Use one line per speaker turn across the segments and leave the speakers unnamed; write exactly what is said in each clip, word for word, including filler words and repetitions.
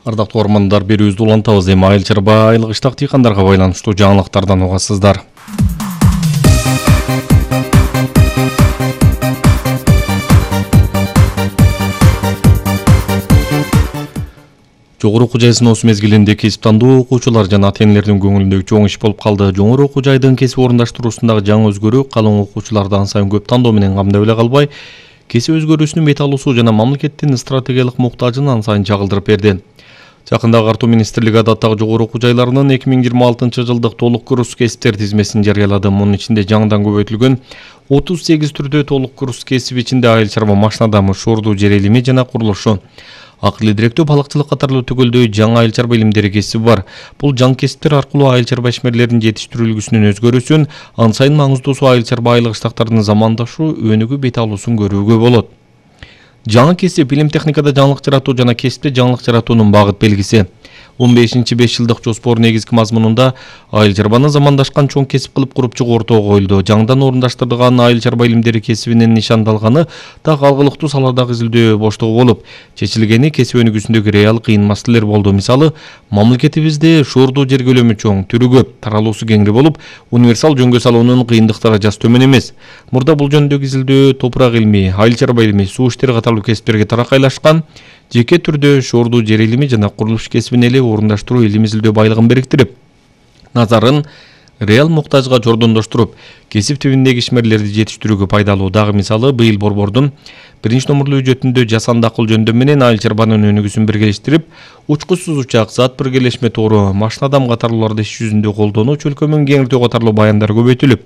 Ардактуу ормандар, берүүбүздү улантабыз. Эми айыл чарба айлык иштак дыйкандарга байланыштуу жаңылыктардан угасыздар. Жогору окуу жай сыноосу мезгилинде кесип тандоо окуучулар жана ата-энелердин көңүлүндөгү чоң иш болуп калды. Жогору окуу жайдын кесип орундаштыруусундагы жаңы өзгөрүү калың окуучуларды ан сайын көп тандоо менен камдай эле калбай, кесип өзгөрүүсүнүн бет алуусу жана мамлекеттин стратегиялык муктажын ан сайын чагылдырып берди. Жакында Агартуу министрлиги адаттагы жогору окуу жайларынын эки миң жыйырма алтынчы жылдык толук курс кесиптер тизмесин жарыялады. Мунун ичинде жаңыдан көбөйтүлгөн отуз сегиз түрдө толук курс кесип ичинде айыл чарба машина дамы, шордуу жер илими жана курулушу, акыл идиректөө, балыкчылык катарлуу түгөлдөй жаңы айыл чарба илимдери кесиби бар. Бул жаңы кесиптер аркылуу айыл чарба ишмерлеринин жетиштирүүлүгүнүн өзгөрүүсүн, ан сайын маңыздуусу айыл чарба айлык иштактарынын замандашу өнүгүү бет алуусун көрүүгө болот. Жаңы кесип илим техникада жаңылык жаратуу жана кесипте жаңылык жаратуунун багыт белгиси. он бешинчи беш жылдык жоспордун негизги мазмунунда айыл чарбаны замандашкан чоң кесип кылып куруп чыгуу ортого коюлду. Жаңыдан орундаштырылган айыл чарба илимдери кесибинин нишандалганы так алгылыктуу саладагы изилдөө боштугу болуп, чечилгени кесип өнүгүүсүндөгү реал кыйын маселелер болду. Мисалы, мамлекетибизде шордуу жер көлөмү чоң, түрү көп, таралуусу кеңири болуп, универсал жөнгө салуунун кыйындык даражасы төмөн эмес. Мурда бул жөнүндөгү изилдөө топурак илими, айыл чарба илими, суу иштери катарлуу кесиптерге таракайлашкан, жеке түрдө шордуу жер илими жана курулуш кесибин эле орундаштыруу илим изилдөө байлыгын бириктирип, назарын реал муктажга жордондоштуруп, кесип тибиндеги ишмерлерди жетиштирүүгө пайдалуу. Дагы мисалы, быйыл борбордун биринчи номурлуу бюджетинде жасанды акыл жөндөм менен айыл чарбанын өнүгүүсүн биргелештирип, учкучсуз учак, зат биргелешме тоору, машина дам катарлууларды иш жүзүндө колдонуу, чөлкөмүн кеңиртүү катарлуу баяндар көбөйтүлүп,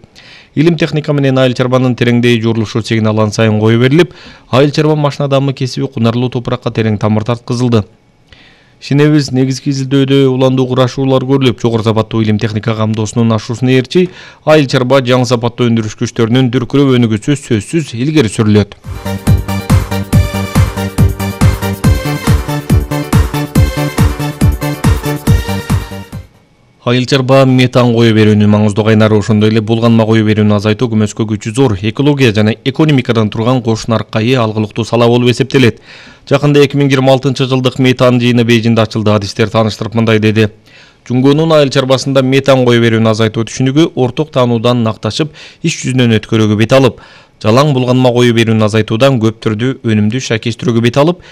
илим техника менен айыл чарбанын тереңдей журулушу сигнал ан сайын кое берилип, айыл чарба машина дамы кесиби кунарлуу топуракка терең тамыр тарткызылды. Ишенебиз, негизги изилдөөдө уландуу курашуулар көрүлүп, жогору сапаттуу илим техника камдоосунун ашуусуна ээрчи айыл чарба жаңы сапаттуу өндүрүш күчтөрүнүн дүркүрөп өнүгүүсү сөзсүз илгери сүрүлөт. Айыл чарба метан кое берүүнүн маңыздуу кайнары, ошондой эле булганма кое берүүнү азайтуу көмөскө күчү зор, экология жана экономикадан турган кош наркайы алгылыктуу сала болуп эсептелет. Жакында эки миң жыйырма алтынчы жылдык метан жыйыны Бейжиңде ачылды. Адистер тааныштырып мындай деди: Жунгонун айыл чарбасында метан кое берүүнү азайтуу түшүнүгү орток таануудан накташып, иш жүзүнөн өткөрүүгө бет алып, жалаң булганма кое берүүнү азайтуудан көп түрдүү өнүмдүү шакештирүүгө бет алып,